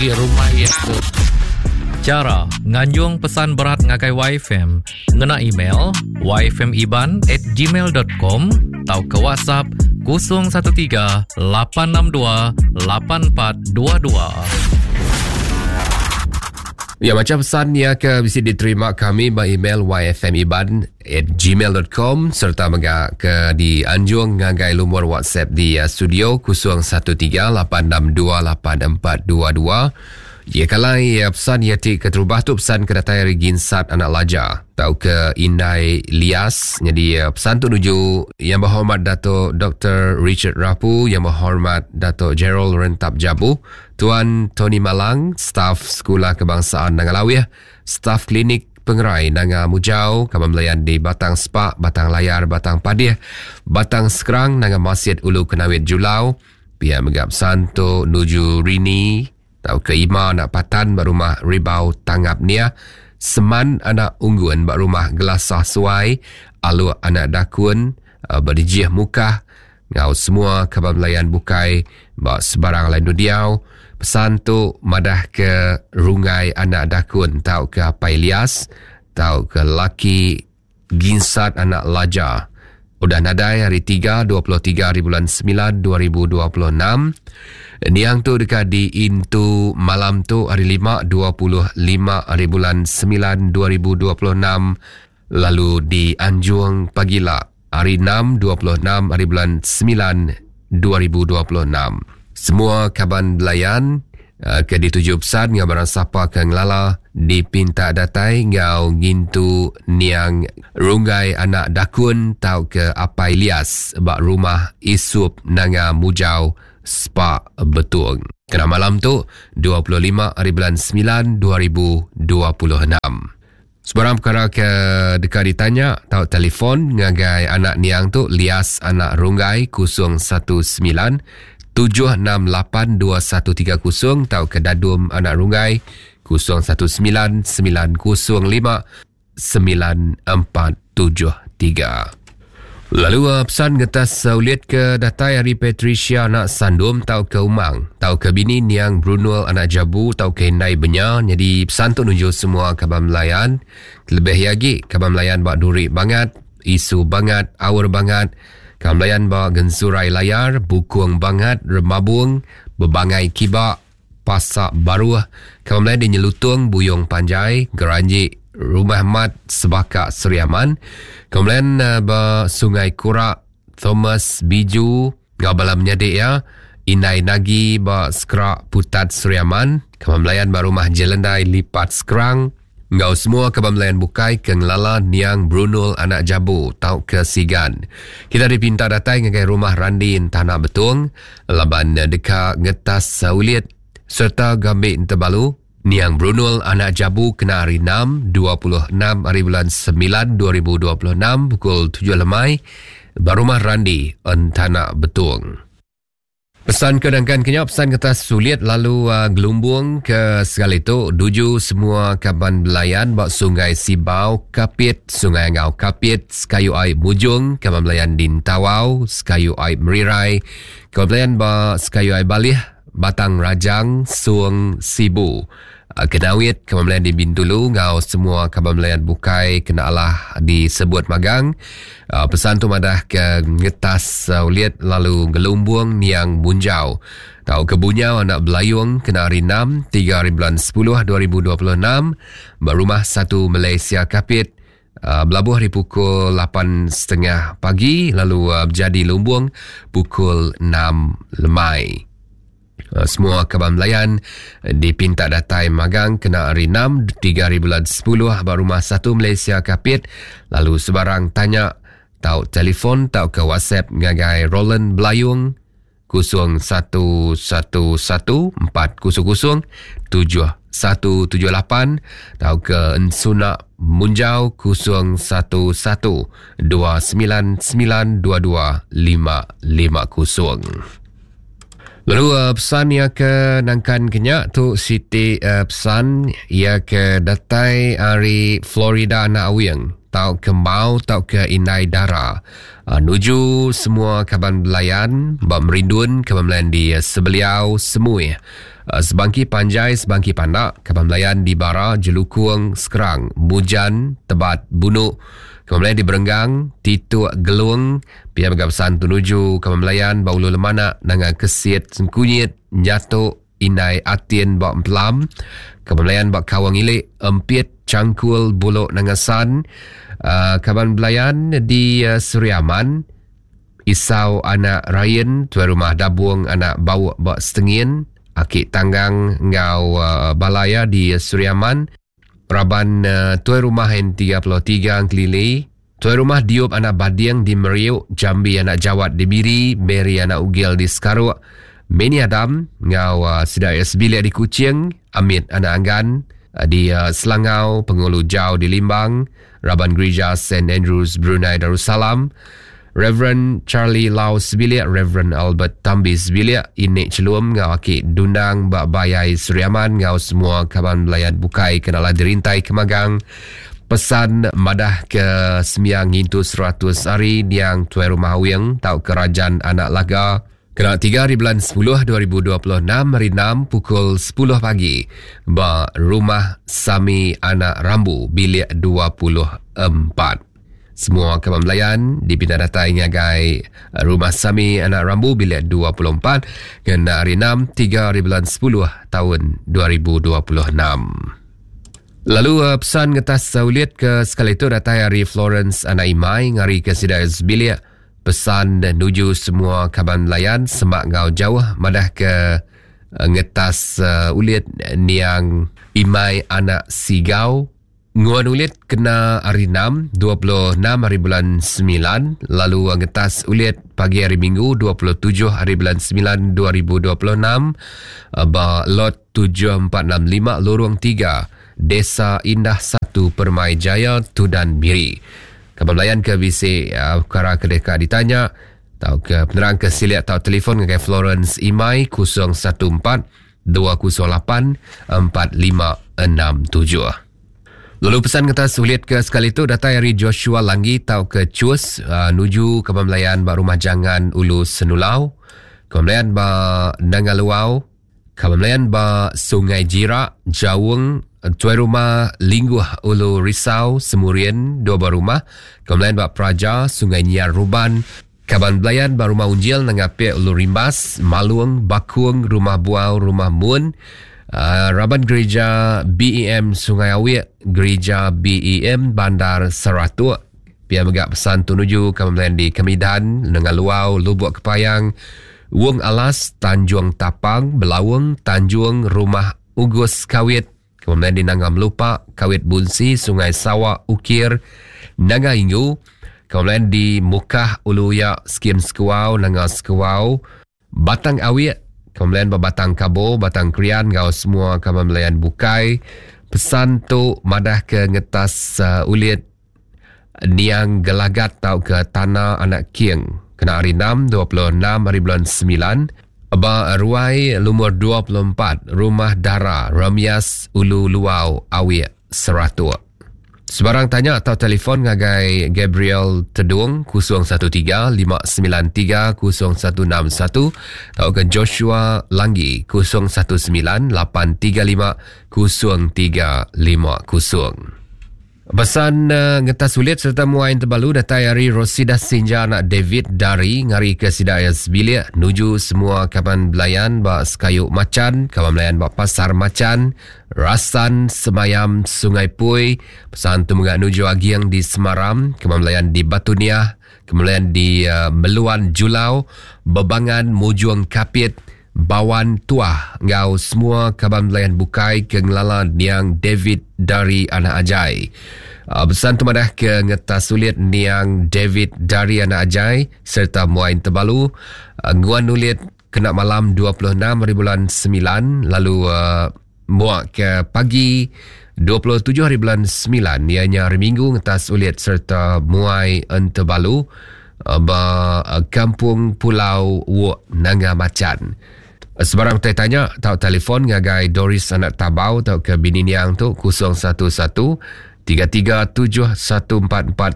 Rumah iya tu. Chara nganjung pesan berat ngagai YFM ngena email yfmiban at gmail dot com tauka WhatsApp 013 862 8422. Ya macam pesan ya ke bisi diterima kami ba email yfmiban at gmail.com serta mega ke dianjung ngagai lumur WhatsApp di eh, studio 0138628422. Ya kalai eh, pesan ya ti keterubah tu pesan ke datai ari Ginsat anak Laja tau ke Indai Lias. Jadi eh, pesan tu nuju Yang Berhormat Dato Dr. Richard Rapu, Yang Berhormat Dato Gerald Rentap Jabu, Tuan Tony Malang, staf Sekolah Kebangsaan Nangalawih, Staf Klinik Pengerai Nanga Mujau, Kaban Belayan di Batang Spak, Batang Layar, Batang Padih, Batang Skrang, Nanga Masit, Ulu Kenawit Julau, pia mega pesan tu nuju Rini tauka Ima anak Patan ba rumah Ribau Tangap Nia, Seman anak Unggun ba rumah Gelasah Suai, Aluk anak Dakun ba Dijih Mukah enggau semua kaban belayan bukai ba sebarang alai endur diau. Pesan tu madahka Runggai anak Dakun tauka Apai Lias tauka laki Ginsat anak Laja udah nadai hari Tiga 23 haribulan semilan 2026. Niang tu deka diintu malam tu hari Lima 25 haribulan semilan 2026 lalu dianjung pagila hari Enam 26 haribulan semilan 2026. Semua kaban belayan eh, ke dituju pesan enggau barang sapa ke ngelala dipinta datai enggau ngintu niang Runggai anak Dakun tauka Apai Lias ba rumah Isup Nanga Mujau Spa Betong. Kena malam tu 25 hari bulan 9 2026. Sebarang perkara ke deka ditanya tau telefon ngagai anak niang tu Lias anak Runggai 019 768 2130 tauka Dadum anak Runggai 019 905 9473. Lalu uh, pesan ngetas uh, ulit ke datai ari Patricia anak Sandum tau ke Umang tau ke bini niang Brunul anak Jabu tau ke Indai Benya nyadi pesan tu nuju semua kaban Melayan lebih iya agi kaban Melayan ba Duri Bangat Isu Bangat Aur Bangat kaban Melayan ba Gensurai Layar Bukung Bangat Remabung Bebangai Kiba Pasak Baruh, Kaban Melayu di Nyelutung, Buyong Panjai, Geranji, Rumah Mat, Sebaka, Seri Aman. Kaban Melayu eh, ba Sungai Kurak, Thomas Biju, enggau bala menyadi iya, Indai Nagi ba Skrak Putat Seri Aman, Kaban Melayan ba Rumah Jelendai Lipat Skrang, Enggau semua kaban belayan bukai ke ngelala niang Brunul anak Jabu tauka Sigan. Kita dipinta datai ngagai rumah Randi Entana Betong laban deka ngetas ulit sereta gambi entebalu niang Brunul anak Jabu kena hari Enam, 26 haribulan semilan 2026 pukul tujuh lemai ba rumah Randi Entana Betong. Pesan ke nangkan ke nya pesan kertas sulit lalu uh, gelumbung ke sekali tu duju semua kaban belayan ba Sungai Sibau, Kapit, Sungai Angau Kapit, Sekayu Ai Mujung, kaban belayan di Tawau, Sekayu Ai Merirai, kaban belayan ba Sekayu Ai Balih, Batang Rajang, Suong Sibu. Ah, Kenawit, Kaban Melayan di Bintulu enggau semua kaban Melayan bukai kena alah disebut magang. Ah, pesan tu madah ke ngetas ah, ulit lalu ngelumbung niang Munjau. Tau ke Bunyau anak Belayung kena hari 6, 3 hari bulan 10 2026 ba Rumah Satu Malaysia Kapit belabuh ari pukul 8.30 pagi lalu bejadi lumbung pukul 6 lemai. Eh, semua kaban belayan dipinta datai magang kena hari 6 3 hari bulan 10 ba rumah 1 Malaysia Kapit lalu sebarang tanya tau telefon tau ke WhatsApp ngagai Roland Belayung 0111 400 7178 tau ke Ensuna Munjau 011 299 22550. Lalu uh, pesan ia ke nangkan ke nya tu siti uh, pesan ia ke datai ari Florida anak Awing tau ke mau tau ke indai dara uh, nuju semua kaban belayan ba merindun kaban belayan di uh, Sebeliau Semui. Sebangki Panjai, Sebangki Pandak, Kaban Belayan di Bara, Jelukung, Skrang, Mujan, Tebat, Bunu, Kaban Belayan di Berenggang, Tituk, Gelung, pia mega pesan tu nuju Kaban Belayan ba Ulu Lemanak, Nanga Kesit, Sengkunyit, Nyatok, Indai Atin ba Empelam, Kaban Belayan ba Kawang Ilik, Empit, Changkul, Bulok Nanga San, Kaban Belayan di Seri Aman, Isau anak Rain, tuai rumah Dabung anak Bauk ba Setengin, Aki Tanggang enggau bala iya di Sri Aman, raban tuai rumah N33 Engkelili, tuai rumah Diop anak Bading di Meriuk, Jambi anak Jawat di Miri, Mary anak Ugil di Sekaruk, Meni Adam enggau sida iya sebilik di Kuching, Amit anak Anggan di Selangau, Pengulu Jau di Limbang, Raban Gerija Saint Andrews Brunei Darussalam, Reverend Charlie Lau sebilik, Reverend Albert Tambi sebilik, Inik Chelum enggau Aki Dundang ba Bayai Sri Aman enggau semua kaban belayan bukai ke nala dirintai ke magang pesan madah ke sembiang ngintu 100 hari niang Tuai Rumah Awing tauka Rajan Anak Laga Kena tiga hari bulan sepuluh 2026 hari enam pukul sepuluh pagi ba Rumah Sami Anak Rambu bilik 24. Semua kaban belayan dipinta datai ngagai Rumah Sami Anak Rambu bilik 24 kena hari enam tiga hari bulan sepuluh taun 2026. Lalu pesan ngetas ulit ke sekali tu datai ari Florence Anak Imai ngari ke sida sebilik Pesan nuju semua kaban belayan semak enggau jauh madah ke ngetas ulit niang Imai anak Sigau nguan ulit kena hari enam, 26 hari bulan semilan lalu ngetas ulit pagi hari Minggu 27 hari bulan semilan 2026 ba lot 7465 Lorong 3 Desa Indah 1 Permai Jaya Tudan Miri. Kaban belayan ke bisi pekara ke deka ditanya tauka penerang ke silik tau telefon ngagai Florence Imai 014 208 4567. Lalu pesan kata sulit ke sekali tu datai ari Joshua Langgi tauka Chus nuju kaban belayan ba Rumah Jangan Ulu Senulau, kaban belayan ba Nanga Luau, Kaban Melayan ba Sungai Jirak, Jaung, Tuai Rumah Lingguh Ulu Risau, Semurian, dua buah rumah. Kaban Melayan ba Praja, Sungai Nyiar Ruban. Kaban Belayan ba Rumah Unjil Nanga Pek Ulu Rimbas, Malung, Bakung, Rumah Buau, Rumah Mun. Raban Gerija BEM Sungai Awik, Gerija BEM Bandar Saratok. Pia mega pesan tu nuju Kaban Melayan di Kemidan, Nanga Luau, Lubuk Kepayang, Wong Alas, Tanjung Tapang, Belaung, Tanjung, Rumah Ugus Kawit, kemudian di Nanga Melupa, Kawit Bunsi, Sungai Sawa, Ukir, Nanga Ingu, kemudian di Mukah, Ulu Yak, Skim Sekuau, Nanga Sekuau, Batang Awik, kemudian ba Batang Kabo, Batang Krian enggau semua kaban belayan bukai. Pesan tu madah ke ngetas ulit Niang Gelagat tauka Tana Anak King kena hari enam, 26 hari bulan semilan ba ruai lumur 24 Rumah Dara, Remias, Ulu Luau, Awik, Seratok. Sebarang tanya atau telefon ngagai Gabriel Tedung 013 593 0161 tauka Joshua Langgi 019 835 0350. Pesan ngetas ulit sereta muai tebalu datai ari Rosidah Sinja anak David Dari ngarika sida iya sebilik nuju semua kaban belayan ba Sekayu Machan, kaban belayan ba Pasar Machan, Rasan, Semayam, Sungai Pui. Pesan tu mega nuju Aging di Semaram, kaban belayan di Batu Niah, kaban belayan di Meluan Julau, Bebangan Mujung Kapit, Bawan Tuah enggau semua kaban belayan bukai ke ngelala niang David Dari Anak Ajai. Besan tu madah ke ngetas sulit niang David Dari Anak Ajai sereta Muain Tebalu nguan nulit kena malam 26 hari bulan 9 lalu muak ke pagi 27 hari bulan 9 iya nya hari Minggu ngetas ulit sereta muai Entebalu ba Kampung Pulau Wok Nanga Machan. Sebarang utai tanya tau telefon ngagai Doris Anak Tabau tauka bini niang tu 011 337 1412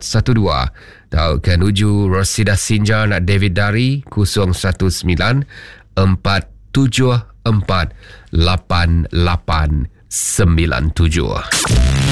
tauka nuju Rosida Sinja anak David Dari 019 4. 74 88 97.